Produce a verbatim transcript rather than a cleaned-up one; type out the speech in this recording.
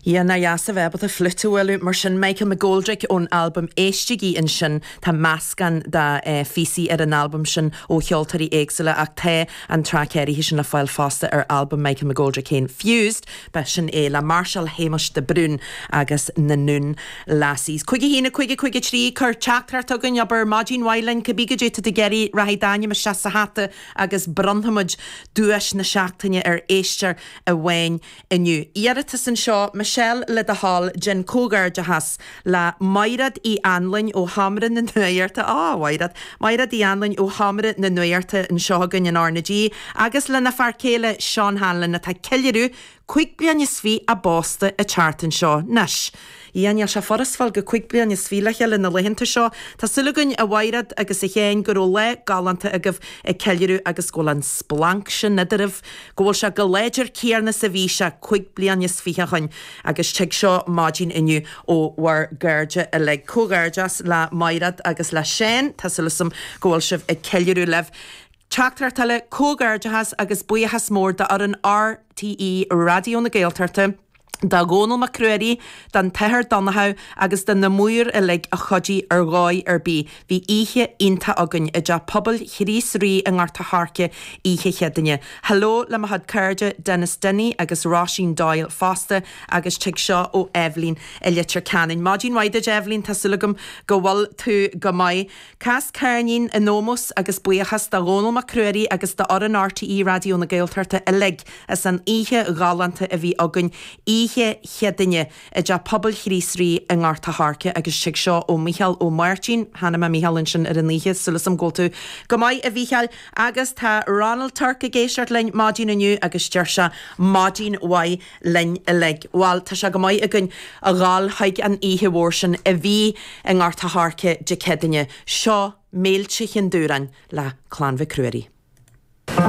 Yeah, nach deas a bheith ábalta fliúit a bhualadh mar sin Michael McGoldrick ón albam Éistigí ansin tá meascán de eh, phíosaí ar an albam sin ó cheoltóirí éagsúla ach tá an traic áirithe sin le fáil fosta ar albam Michael McGoldrick féin Fused, ba sin é le Marshall Shéamuis de Brún agus na Noon Lassies. Cúig a haon cúig cúig trí cuir teachtaireacht chugainn abair maidin mhaith linn cibé goidé atá tú ag iarraidh rachaidh d'ainm isteach sa hata agus bronnfaimid duais na seachtaine ar éisteoir amháin inniu. Iarratas anseo Michelle le do thoil déan comhghairdeachas le Mairéad Uí Anluain ó Sheomra na Nuachta á Mhairéad, Mairéad Uí Anluain ó Sheomra na Nuachta anseo againn in R na G, agus lena fear céile Seán Hanlon atá ag ceiliúradh cúig bliana is fiche a bpósta an tseachtain seo anois. Yeah níl sé furast fáil go cúig bliana is fiche le chéile na laethanta seo, Tá súil againn a Mhairéad agus a Sheáin go raibh lá galánta agaibh ag ceiliúradh agus go bhfuil an splanc sin idiribh, go bhfuil sé chomh láidir céanna is a bhí sé cúig bliana is fiche ó shin agus tig seo maidin inniu ó bhur gcairde uilig. Comhghairdeas le Mairéad agus le Seán Tá súil agam go bhfuil sibh ag ceiliúradh libh. Teachtaireacht eile comhghairdeachas agus buíochas mór d'fhoireann RTÉ Raidió na Gaeltachta. Do Dhónall Mac Ruairí, don tAthair Donnchadh agus do na maoir uilig a chuidigh ar dhóigh ar bith. Bhí oíche iontach againn i dTeach Pobail Chríost Rí i nGort a' Choirce oíche Chéadaoine. Hello le mo chuid cairde Dennis Denny agus Róisín Doyle fosta agus tig seo ó Evelyn i Leitir Ceanainn. Maidin mhaith duit Evelyn Tá súil agam go bhfuil tú go maith. Cas ceirnín in ómós agus buíochas do Dhónall Mac Ruairí agus d'fhoireann RTÉ Raidió na Gaeltachta uilig as an oíche ghalánta a bhí againn oíche Chéadaoine i dTeach Pobail Chríost Rí i nGort a' Choirce agus tig seo ó Micheál Ó Máirtín, Chonaic mé Micheál ansin ar an oíche súil agam go bhfuil tú go maith a Mhichíl agus tá Ronald Turk ag éisteacht linn maidin inniu agus deir sé maidin mhaith linn uilig. Bhuel tá sé go maith againn a ghabháil chuig an oíche mhór sin a bhí i nGort a' Choirce Dé Céadaoine. Seo Méilte Chinn Dúráin le Clann Mhic Ruairí.